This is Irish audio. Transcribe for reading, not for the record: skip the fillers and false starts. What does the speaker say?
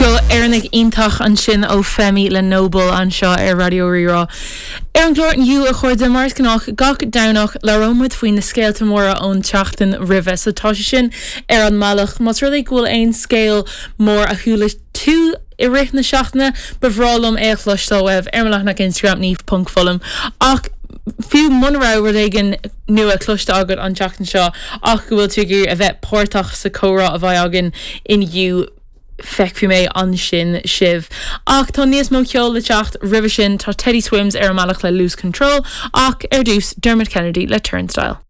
Ceol Éireannach iontach ansin ó Femi le Noble anseo ar Raidió Rí-Rá. Ar an gclár inniu, a chairde, mar is gnách gach Domhnach, labhróidh muid faoi na scéalta móra ón tseachtain roimhe. So tá sé sin ar an mbealach. Más rud é go bhfuil aon scéal mór a chuala tú i rith na seachtaine, ba bhreá liom é a chloisteáil uaibh ar mo leathanach Instagram, niamh.fullam. Ach fiú muna raibh rud éigin nua cloiste agat an tseachtain seo ach go bhfuil tú ag iarraidh a bheith páirteach sa chomhrá a bheidh againn inniu, feicfidh mé ansin sibh. Ach tá níos mó ceoil le teacht roimhe sin, tá Teddy Swims ar an mbealach le Lose Control, ach ar dtús, Dermot Kennedy le Turnstile.